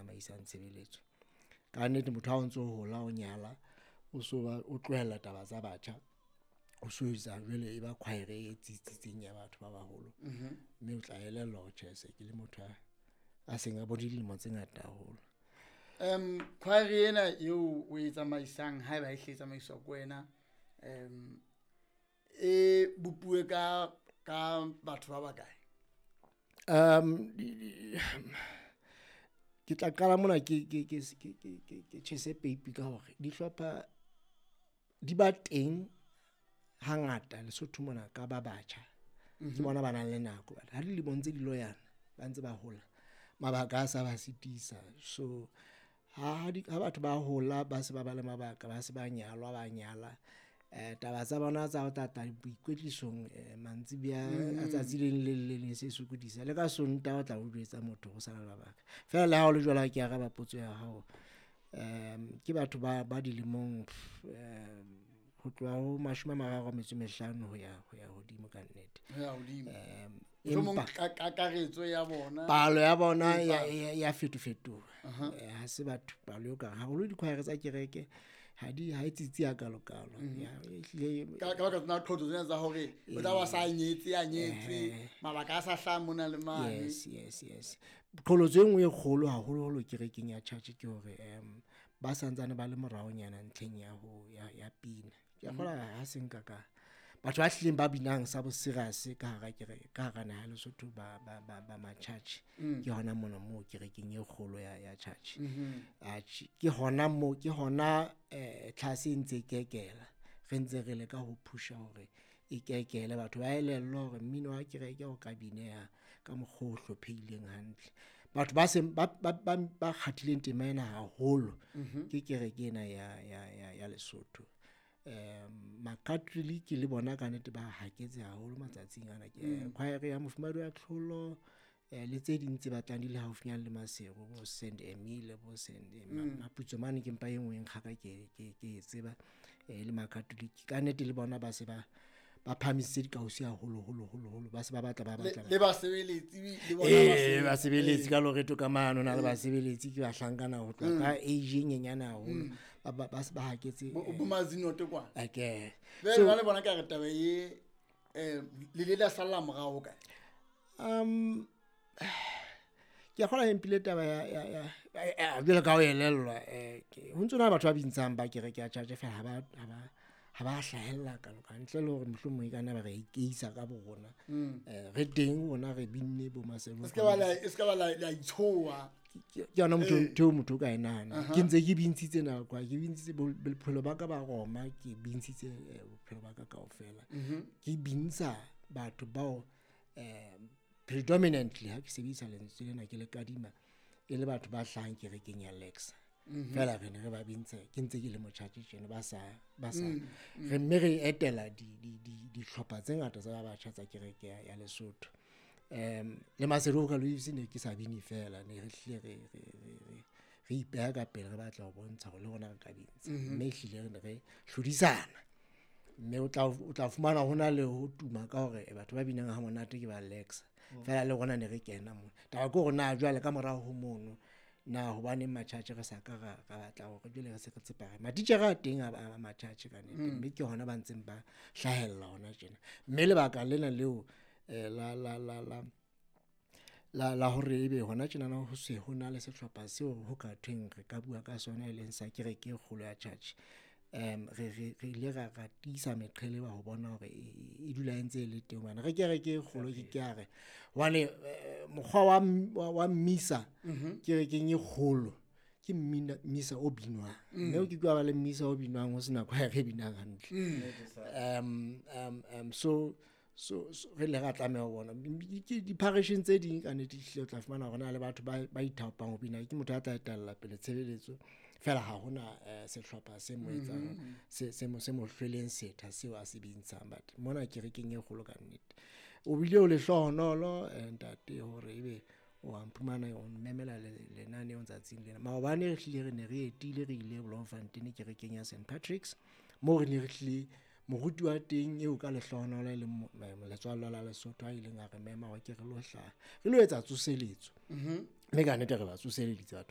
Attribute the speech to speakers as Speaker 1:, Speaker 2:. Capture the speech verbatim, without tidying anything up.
Speaker 1: tsamaisang tshebeletso. Ka nnete motho ha o ntso hola o nyala, o so ba o tlohella taba tsa batjha, o so etsa jwale e ba choir e tsitsitseng ya batho ba baholo. Mme o tla elellwa hore tjhe, se ke le motho a a seng a bone dilemo tse ngata haholo.
Speaker 2: Um choir ena eo o e tsamaisang, haeba e hle e tsamaiswa ke wena, um e bopuwe ka ka batho ba bakae?
Speaker 1: Um di- di- ke tla qala mona ke ke ke ke ke ke ke tjhese peipi ka hore dihlopha di ba teng hangata Lesotho mona ka ba batjha. Ke bona ba nang le nako. Ha dilemo ntse di loyana, ba ntse ba hola, mabaka a sa ba sitisa. So ha ha di ha batho ba hola, ba se ba ba le mabaka, ba se ba nyalwa, ba nyala, eh taba tsa bona tsa ho tata boikwetlisong eh mantsibuya a tsatsi le leng le le leng se sokodisa. Le ka Sontaha o tla o jwetsa motho ho sa na le mabaka. Feela le ha ho le jwalo, ha ke araba potso ya hao, um ke batho ba ba dilemong um ho tloha ho mashome a mararo a metso e mehlano ho ya ho ya hodimo ka nnete.
Speaker 2: Ho ya hodimo.
Speaker 1: Um
Speaker 2: Mohlomong
Speaker 1: empa
Speaker 2: ka kakaretso ya bona
Speaker 1: palo ya bona ya
Speaker 2: Empa-
Speaker 1: ya ya fetofetoha. Eh, ha se batho palo eo ka haholo di-choir tsa kereke ha di ha e tsitsi hakalo-kalo. Ya, ehlile
Speaker 2: ka ka baka tsona qholotso tsena tsa hore o tla ba sa nyetse a nyetswe, mabaka a sa hlaha mona le mane.
Speaker 1: Yes, yes, yes. Qholotso e nngwe e kgolo haholoholo kerekeng ya church ke hore um ba santsane ba le moraonyana ntlheng ya ho ya, ya pina. Ke a kgolwa ha se nka ka batho ba hlileng ba binang sa bo serious ka hara kereke, ka hara naha ya Lesotho ba ba ba ba ma-church. Ke hona mona moo kerekeng e kgolo ya ya church. Atjhe, ke hona moo ke hona eh tlhase e ntse e kekela. Re ntse re leka ho pusha hore e kekele batho ba elellwe hore mmino wa kereke o ka bineha ka mokgwa o hlophehileng hantle. Batho ba seng ba ba ba ba kgathileng tema ena haholo ke kereke ena ya ya ya ya Lesotho. Um Makatholike le bona ka nnete ba haketse haholo matsatsing ana. Ke choir ya Mofumahadi wa Tlholo eh le tse ding tse batlang di le haufinyana le Maseru, bo Saint Emile, bo Saint Maputsoe mane ke mpa e nngwe e nkgaka ke ke ke e tseba eh le Makatholike. Ka nnete le bona ba se ba ba phahamisitse dikausi haholo holo holo holo, ba se ba batla ba
Speaker 2: Le
Speaker 1: batla
Speaker 2: le basebeletsi le bona
Speaker 1: ee
Speaker 2: basebeletsi.
Speaker 1: Basebeletsi ka loreto ka mano na le basebeletsi ke bahlankana ho tloha ka age e nyenyane haholo, ba ba ba se ba haketse.
Speaker 2: Bo bo Mazinoto kwana.
Speaker 1: Ake
Speaker 2: Jwale
Speaker 1: so
Speaker 2: ba le bona ka re taba e eh le ile la salla morao kae?
Speaker 1: um ke a kgolwa e mpile taba ya ya ya ya jwalo ka ho elellwa, eh ke ho ntso na batho ba bintshang ba kereke ya church fela ha ba ha ba ha ba hlahella kalo ka ntle le hore mohlomong e ka nna ba re ikeisa ka bo rona. Eh re teng rona re binne bo Maselo.
Speaker 2: E ska ba la e ska ba la la itshoha.
Speaker 1: Ke yona motho ntho eo motho o ka e nahana. Ke ntse ke bintshitse nako, ke bintshitse bophelo ba ka ba Roma, ke bintshitse eh, bophelo ba ka kaofela. Ke bintsha batho bao eh predominantly, ha ke sebedisa lentswe lena ke le kadima, e le batho ba hlahang kerekeng ya Lexa. Feela re ne re ba bintsha ke ntse ke le motjhatjhe tjena, ba sa ba sa re, mme re etela di di di dihlopha tse ngata tsa ba batjha tsa kereke ya, ya Lesotho. Um le Maseru Vocal Waves ne ke sa bine fela, ne re hlile re re re re re ipeha ka pele, re batla ho bontsha hore le rona re ka bintsha, mme ehlile re ne re hlodisana, mme o tla o tla fumana hona le ho tuma ka hore batho ba binang ha monate ke ba Lexa. Feela le rona ne re kena mona. Taba ke hore na jwale ka morao ho mono na hobaneng matjhatjhe re sa ka ra ra batla hore jwale re se re tsepame. Matitjhere a teng a a matjhatjhe ka nnete, mme ke hona ba ntseng ba hlahella hona tjena. Mme lebaka lena leo eh la la la la la la hore ebe hona tjenana ho se ho na le sehlopha seo ho ka thweng re ka bua ka sona e leng sa kereke e kgolo ya church. Um re re re ile ra ra tiisa meqheleba ho bona hore e e dula e ntse e le teng hobane re kereke e kgolo ke ke a re hobane eh, mokgwa wa m- wa wa mmisa kerekeng e kgolo ke mmina mmisa o binwang, mme o ke ke wa ba le mmisa o binwang ho sena choir e binang hantle. um um um so so so re le ra tlameha ho bona ke di-parisheng tse ding ka nnete ehlile o tla fumana hore na le batho ba ba ithaopang ho bina, ke motho a tla etella pele tshebeletso fela ha hona eh, sehlopha se mo etsang se se mo se mo hlweleng setha seo a se bintshang. But mona kerekeng e kgolo ka nnete o bile o lehlohonolo eh, ntate hore ebe o a mphumana o mmemela lenaneong tsatsing lena. Maobane re hlile re ne re etile, re ile Bloemfontein kerekeng ya Saint Patrick's, moo re ne re hlile moruti wa teng eo ka lehlohonolo e leng letswallo la Lesotho a ileng a re mema hore ke re lo hlaha re lo etsa tsoseletso, mme ka nnete re ba tsoseleditse batho.